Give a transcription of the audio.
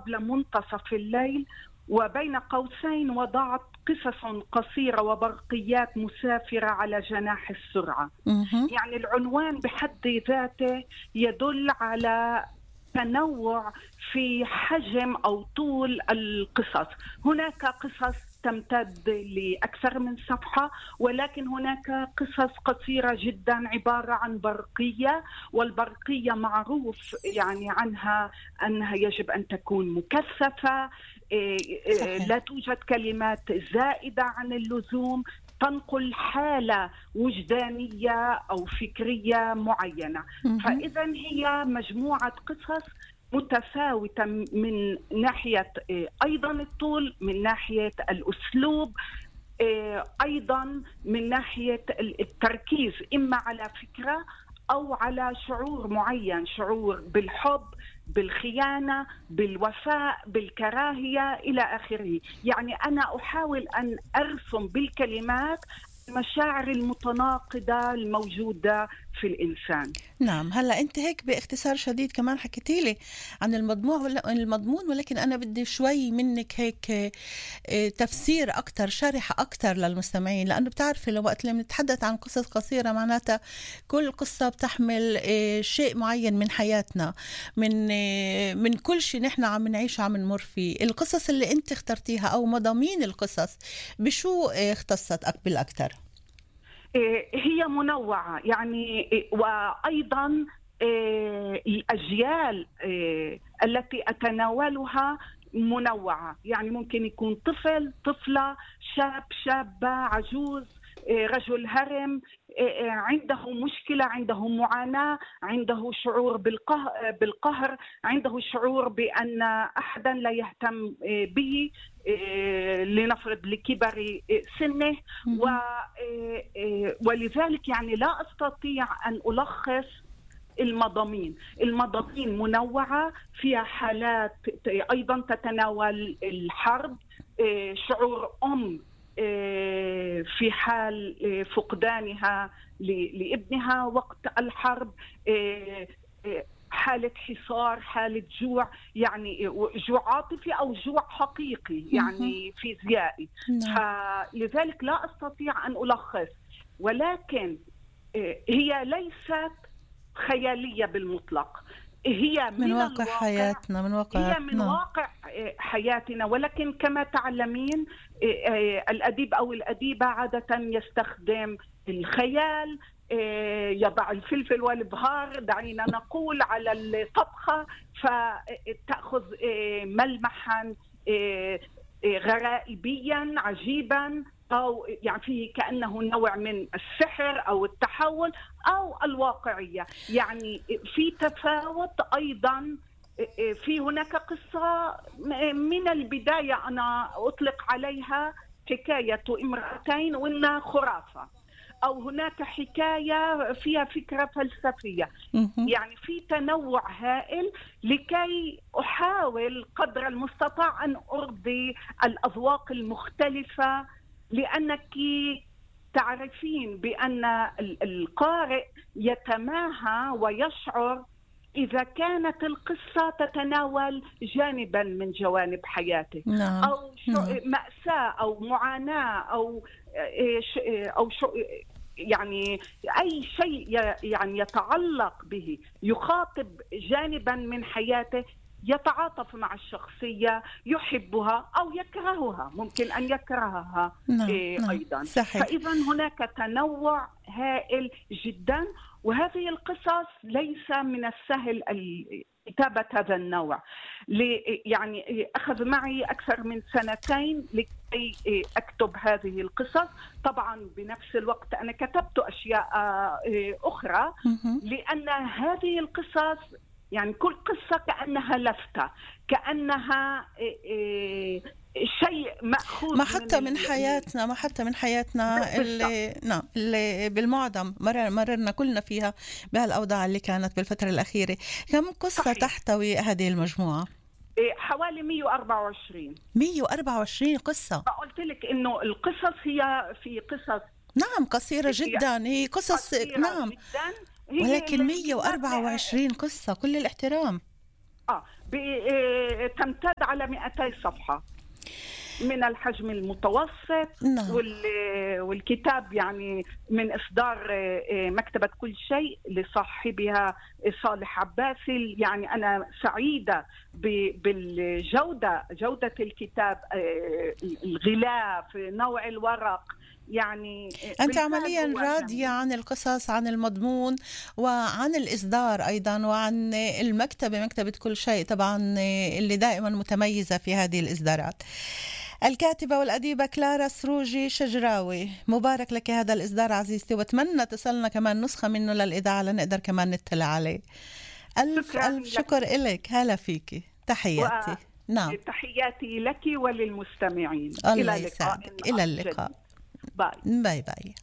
قبل منتصف الليل، وبين قوسين وضعت قصص قصيرة وبرقيات مسافرة على جناح السرعة. يعني العنوان بحد ذاته يدل على تنوع في حجم أو طول القصص. هناك قصص تمتد لأكثر من صفحة، ولكن هناك قصص قصيرة جدا عبارة عن برقية، والبرقية معروف يعني عنها أنها يجب أن تكون مكثفة، لا توجد كلمات زائدة عن اللزوم، تنقل حالة وجدانية أو فكرية معينة. فإذا هي مجموعة قصص متفاوتة من ناحية أيضا الطول، من ناحية الأسلوب، أيضا من ناحية التركيز إما على فكرة أو على شعور معين، شعور بالحب، بالخيانة، بالوفاء، بالكراهية إلى آخره. يعني أنا أحاول أن أرسم بالكلمات المشاعر المتناقضة الموجودة في الإنسان. نعم. هلأ أنت هيك باختصار شديد كمان حكيتيلي عن المضمون، ولكن أنا بدي شوي منك هيك تفسير أكتر، شرح أكتر للمستمعين، لأنه بتعرفي لو وقت اللي بنتحدث عن قصص قصيرة معناتها كل قصة بتحمل شيء معين من حياتنا، من كل شيء نحن عم نعيشه عم نمر فيه. القصص اللي أنت اخترتيها أو مضامين القصص بشو اختصت بالأكتر؟ هي منوعة يعني، وأيضا الأجيال التي أتناولها منوعة. يعني ممكن يكون طفل، طفلة، شاب، شابة، عجوز، رجل هرم، عنده مشكلة، عنده معاناة، عنده شعور بالقهر، عنده شعور بأن أحدا لا يهتم به لنفرض لكبر سنه. ولذلك يعني لا أستطيع أن ألخص المضامين منوعة، فيها حالات أيضا تتناول الحرب، شعور أم في حال فقدانها لابنها وقت الحرب، حالة حصار، حالة جوع، يعني جوع عاطفي أو جوع حقيقي يعني فيزيائي. فلذلك لا أستطيع أن ألخص، ولكن هي ليست خيالية بالمطلق، هي من واقع حياتنا، من واقع حياتنا. ولكن كما تعلمين الأديب أو الأديبة عادة يستخدم الخيال، يضع الفلفل والبهار دعينا نقول على الطبخة، فتأخذ ملمحا غرائبيا عجيبا، أو يعني فيه كأنه نوع من السحر أو التحول أو الواقعية. يعني في تفاوت أيضا. في هناك قصة من البداية أنا أطلق عليها حكاية امرأتين وإنها خرافة، أو هناك حكاية فيها فكرة فلسفية. يعني في تنوع هائل لكي أحاول قدر المستطاع أن أرضي الأذواق المختلفة، لأنك تعرفين بأن القارئ يتماهى ويشعر إذا كانت القصة تتناول جانبا من جوانب حياته، أو مأساة أو معاناة أو يعني أي شيء يعني يتعلق به، يخاطب جانبا من حياته، يتعاطف مع الشخصية، يحبها أو يكرهها، ممكن أن يكرهها أيضا. فإذا هناك تنوع هائل جدا، وهذه القصص ليس من السهل كتابة هذا النوع. يعني أخذ معي أكثر من 2 لكي أكتب هذه القصص. طبعا بنفس الوقت أنا كتبت أشياء أخرى، لأن هذه القصص يعني كل قصة كأنها لفتة، كأنها شيء مأخوذ ما حتى من حياتنا اللي بالمعظم مررنا كلنا فيها بهالأوضاع اللي كانت بالفترة الأخيرة. كم قصة صحيح. تحتوي هذه المجموعة؟ حوالي 124. 124 قصة. قلت لك إنه القصص هي في قصص نعم قصيرة جدا، هي قصص نعم جداً. ولكن 124 قصة، كل الاحترام. تمتد على 200 صفحة من الحجم المتوسط. نعم. والكتاب يعني من إصدار مكتبة كل شيء لصاحبها صالح عباسي. يعني أنا سعيدة جودة الكتاب، الغلاف، نوع الورق. يعني أنت عمليا راضية عن القصص، عن المضمون، وعن الإصدار أيضا، وعن المكتبة، مكتبة كل شيء طبعا اللي دائما متميزة في هذه الإصدارات. الكاتبة والأديبة كلارا سروجي شجراوي، مبارك لك هذا الإصدار عزيزتي، واتمنى تصلنا كمان نسخة منه للإذاعة لنقدر كمان نطلع عليه. ألف شكر إلك. هلا فيكي، تحياتي. نعم، تحياتي لك وللمستمعين. الله يسعدك. إلى اللقاء. باي باي باي.